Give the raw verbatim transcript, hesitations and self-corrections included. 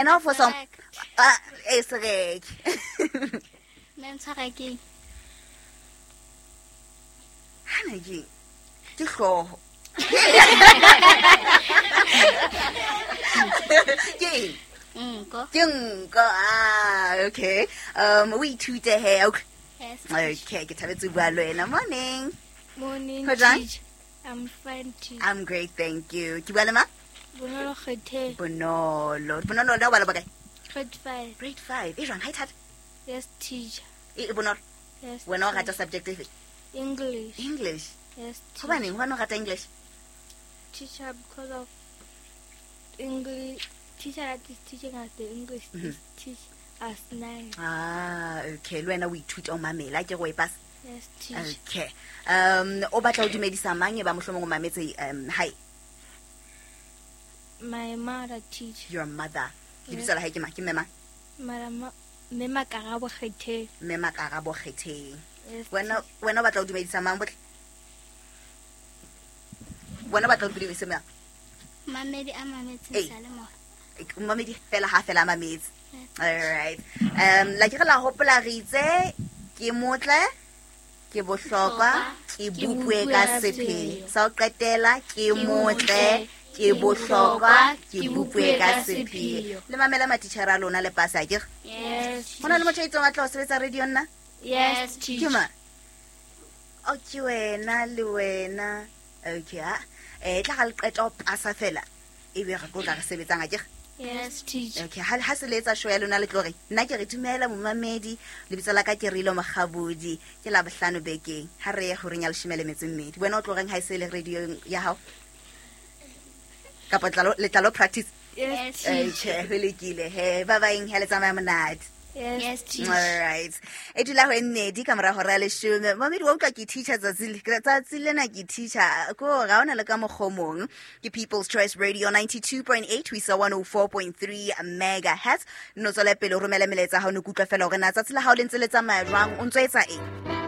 Ena o fosa ah e sereke. Nna ntshwara ke Hana ke ke hlooho. Ke nko. Ke nko. Ah, okay. Um o ithute he. Okay. Yes. Okay, ke thabetse ho bua le wena. Morning. Morning, Ho jwang? teacher. I'm fine, teacher. I'm great, thank you. Ke bua le mang? Bonolo Kgethe. Bonolo. Bonolo le o bala bokae? Grade five. Grade five. E jwang ha e thata? Yes, teacher. E e bonolo. Yes. Wena o teacher. rata subject efe? English. English. Yes, teacher. Hobaneng wena o rata English? Teacher, because of English. Teacher that is teaching us the English Mhm. is teach us nice. Ah, okay. Le wena o ithuta o mamela ke go e pasa. Yes, teacher. Okay. Um o batla ho dumedisa mang e ba mohlomong o mametse um hi My mother, teacher. your mother. Yes. Lebitso la hae ke mang? Ke mme mang? Madam, Mme Makarabo Kgethe. Mme Makarabo Kgetheng. Yes, Wena wena o batla ho dumedisa mang botle? Wena o batla ho dumedisa mang? Mamedi a mametseng Ee. seyalemoya. Mamedi fela ha fela a mametse. Yes. All right. Um la ke re la hopola re itse ke motle ke bohlokwa ke bopue ka sepheo. Sa ho qetela ke motle ke bohlokwa ke bopue ka sepheo. Le mamela matitjhere a lona le pasa akere? Yes. Ho na le motho a itseng wa tla ho sebetsa radio nna? Yes, Ke teacher. mang? O ke wena le wena. Okay, ha. Eh tla ga le qeta ho pasa fela. Ebe re tlo tla re sebetsang akere? Yes, teacher. Okay, ha ha se le etsa show ya lona le tlo re nna ke re dumela momamedi lebitso la ka ke Rilo Mokgabodi ke la bohlano bekeng ha re ye horeng ya leshome le metso e mmedi wena o tlo reng ha e se le radio ya hao kapa tlalo le tlalo practice Yes, Yes. teacher. okay ho lokile he ba baeng ha le tsamaya monate Yes, Yes, teacher. all right e dula ho e mmedi ka mora hora ya leshome mamedi wa utlwa ke teacher tsatsi le tsatsi lena ke teacher ko ga ona le ka mokgwa o mong ke People's Choice Radio ninety-two point eight ho isa one oh four point three megahertz no tswela pele o romele melaetsa ha o ne ke utlwa fela hore na tsatsi la hao le ntse le tsamaya jwang o ntso etsa eng.